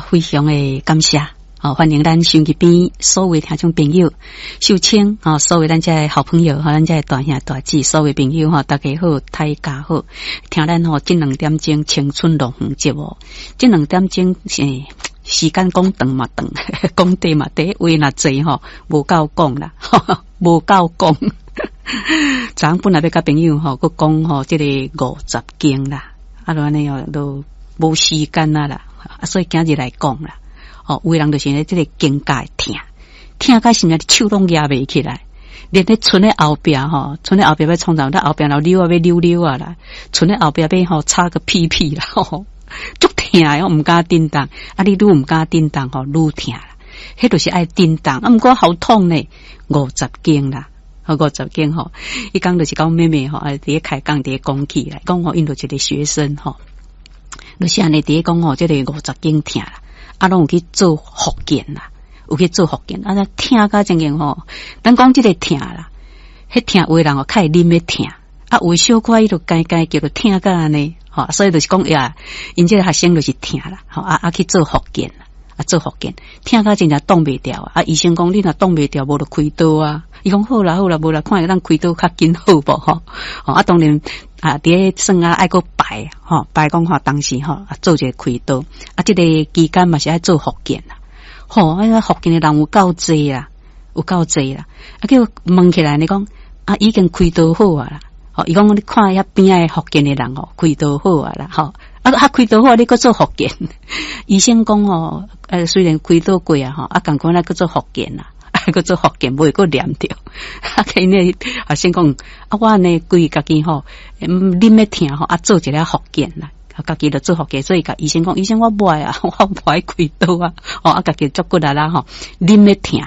吼，非常的感謝，吼，歡迎咱收音機邊所有聽眾朋友，秀清，吼，所有咱遮的好朋友，吼，咱遮的大兄大姊，所有朋友，吼，大家好，大家好，聽咱吼，這兩點鐘青春樂園節目，這兩點鐘是時間講長嘛長，講短嘛短，話若濟吼，無夠講啦，無夠講。昨昏本來欲佮朋友吼，閣講吼，這个五十肩啦，啊，就按呢哦，都無時間啊啦，啊，所以今日來講啦，吼，有的人就是咧這个肩胛會疼，疼甲啥物手攏舉袂起來，連咧賰咧後壁吼，賰咧後壁欲創啥，咱後壁若溜啊欲溜溜啊啦，賰咧後壁欲吼擦個屁屁啦，吼，足疼的，毋敢振動，啊，你愈毋敢振動吼，愈疼啦，彼就是愛振動，啊，毋過好痛呢，五十肩啦。好五十肩吼，伊講就是講妹妹吼，啊，佇咧開講，佇咧講起來，講吼，𪜶就一个學生吼，就是按呢佇咧講吼，這个五十肩疼啦，啊，攏有去做復健啦，有去做復健，啊，那疼甲真經吼，咱講這个疼啦，彼疼有的人哦，較會忍咧疼，啊，有的小可伊就該該叫做疼甲按呢，吼，所以就是講呀，𪜶這个學生就是疼啦，吼，啊啊去做復健啦，啊做復健，疼甲真正擋袂牢啊，醫生講你若擋袂牢，無就開刀啊。伊講好啦好啦，無啦，看會當開刀較緊好無吼？吼啊，當然啊，佇咧算啊愛閣排吼，排講吼當時吼啊做一个開刀啊，這个期間嘛是愛做復健啦。吼，啊復健的人有夠濟啦，有夠濟啦。啊叫問起來，你講啊已經開刀好啊啦。吼，伊講你看遐邊仔復健的人哦，開刀好啊啦，吼。啊啊開刀好，你閣做復健？醫生講吼，雖然開刀過啊，吼，啊仝款來閣做復健啦。閣做復健，無會閣黏著。啊，𪜶咧學生講，啊，我按呢規家己吼，忍咧疼吼，啊，做一下復健啦，家己就做復健，所以共醫生講，醫生我無愛啊，我無愛開刀啊，吼，啊，家己足骨力啦吼，忍咧疼，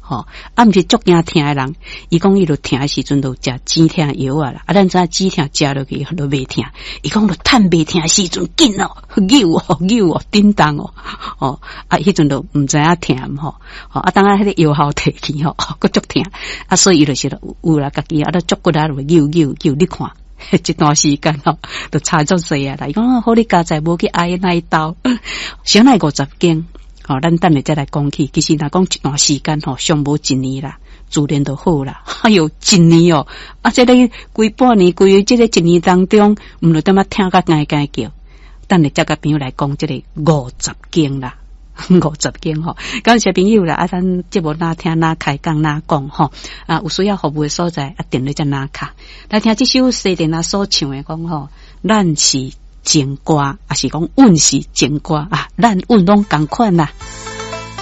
吼，啊，毋是足驚疼的人，伊講伊就疼的時陣就食止疼藥啊啦，啊，咱知影止疼食落去就袂疼，伊講就趁袂疼的時陣緊哦，扭哦，扭哦，振動哦，吼，啊，彼陣就毋知影疼吼，吼，啊，當啊彼个藥效退去吼，閣足疼，啊，所以伊就是有啦，家己啊，都足骨力就扭扭扭，你看。這段時間吼，就差足濟啊啦！伊講好你佳哉無去挨那一刀，啥來五十肩？吼，咱等下再來講起。其實若講一段時間吼，上無一年啦，自然就好啦。哎喲，一年哦，啊，這个規半年，規這个一年當中，毋就踮仔疼甲該該叫。等下再佮朋友來講這个五十肩啦。五十肩吼，感謝朋友啦！啊，咱節目哪聽哪開講哪講吼，啊，有需要服務的所在，啊，電話才哪卡。來聽這首西電仔所唱的講吼，咱是情歌，抑是講阮是情歌啊，咱阮攏仝款啦。